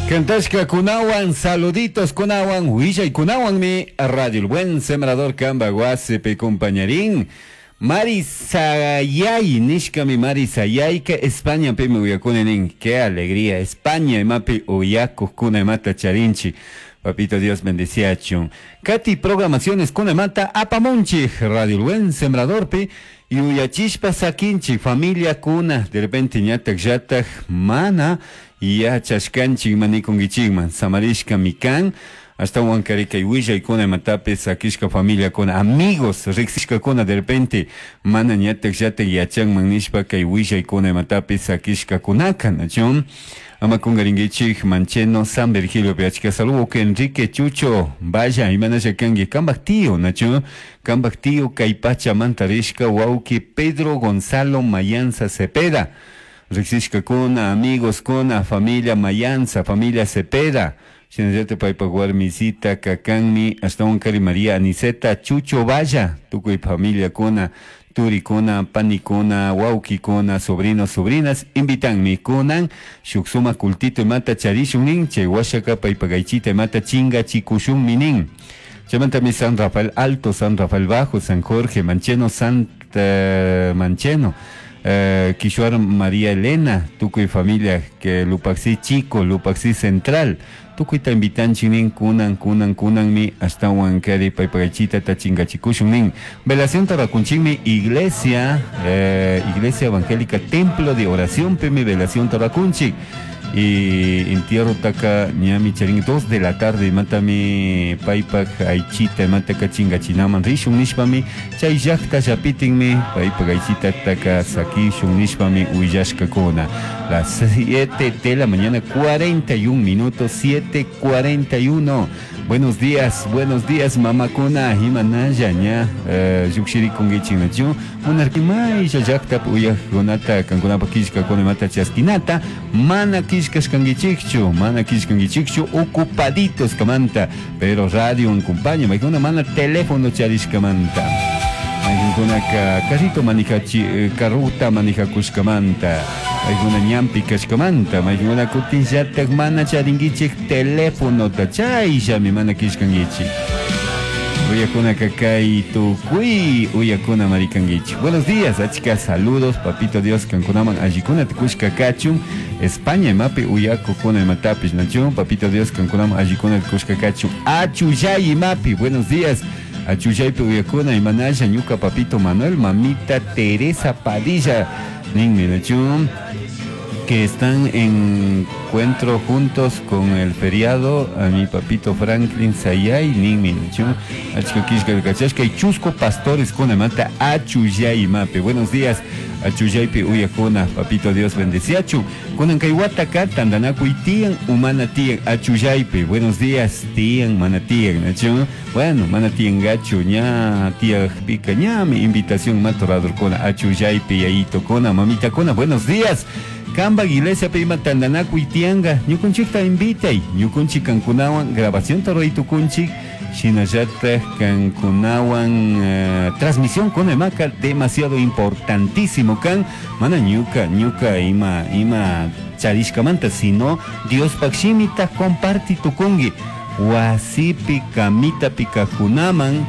Cantashkakunawan, saluditos kunawan, willaykunawanmi Radio El Buen Sembrador kamba wasipi compañarin. Marisayay nishkami Marisayayka Españapimi uyakuni nin. Qué alegría, España imapi uyakukuna imata charinchik. Papito Dios bendiciachun. Kati programaciones kunamanta apamunchik Radio El Buen Sembradorpi yuyachishpa sakinchik familia kuna de repente ñatak llatak mana yachashkanchik manikunkichikman samarishkami kan ashtawan kari kay willaykuna imatapis sakishka familiakuna amigos riksishkakuna de repente mana ñatak llatak yachanman nishpa kay willaykuna imatapis sakishkakunaka nachu ama kungarinkichik Mancheno San Virgilio achka saludo que Enrique Chucho vaya imanasha kanki kambak tío nachu kambak tío kay pachamanta rishka wawki Pedro Gonzalo Mayanza Cepeda riksishkakuna amigos kuna familia Mayanza familia Cepeda shinallata paypak warmisita kakanmi ashtawan kari María Aniceta Chucho Valla tukuy familiakuna turikuna panikuna wawkikuna sobrinos sobrinas invitanmi kunan shuk sumak cultito imata charishun nin chay washaka paypak aychita imata chingachikushunmi nin chaymantami San Rafael Alto, San Rafael Bajo, San Jorge, Mancheno, Santa Mancheno, Quishuar María Elena, tukuy familia que Lupaxi Chico, Lupaxi Central, tukuyta invitanchik nin kunan kunan kunanmi ashtawan kari paypak aychita ta chingachikushun nin. Velación tarakunchikmi iglesia, Iglesia Evangélica Templo de Oración pimi velación tarakunchik. Y entierro taka ñami charin 2 de la tarde matami paypak aychita mataka chingachinaman rishun nishpami chay llaqta llapitinmi paypak aychita taka sakishun nishpami willashkakuna. Las 7 de la mañana 41 minutos, 7:41. Buenos días mamakuna imanalla ña llukshirikunkichik nachu munarki maylla llaqtapi uyaqkunata kankunapak killkakuna imata chaskinata mana killkashkankichikchu mana killkankichikchu ocupaditos kamanta pero radio acompaña maykuna mana teléfono charishkamanta maykunaka carrito manijachi carruta manijakushkamanta maykuna ñanpi kashkamanta maykuna kutinllatak mana charinkichik telefonota chayllami mana killkankichik uyakunaka kay tukuy uyakuna marikankichik. Buenos días, achka saludos, papito Dios kankunaman allikuna tukushka kachun España imapi uyakukuna imatapish nachu papito Dios kankunaman allikuna tukushka kachun Achullay imapi, buenos días. Achullaypi uyakuna imanalla ñuka papito Manuel, mamita Teresa Padilla ninmi nachu que están en encuentro juntos con el feriado a mi papito Franklin Sayay ninmi nachu achka killka kachashka y chusco pastores kuna mata Achullay imapi. Buenos días Achullaypi uyakuna papito Dios bendeciachu kunan kay wataka tantanakuy tiyan umana tiyan Achullaypi. Buenos días tiyan mana tiyan nachu bueno mana tiyangachu ña tiyakpika ñami invitación matoradorkuna Achullaypi yayitokuna mamitakuna. Buenos días Kamba iglesia pe ima tantanakuy tiyanka ñukunchikta invitay ñukunchik kankunawan grabación ruray tukunchik shinallatak kankunawan transmisión kuna imaka demasiado importantísimo kan mana ñuka ñuka ima ima charishkamanta sino Diospak shimita comparti tukunki wasipi kamitapi kakunaman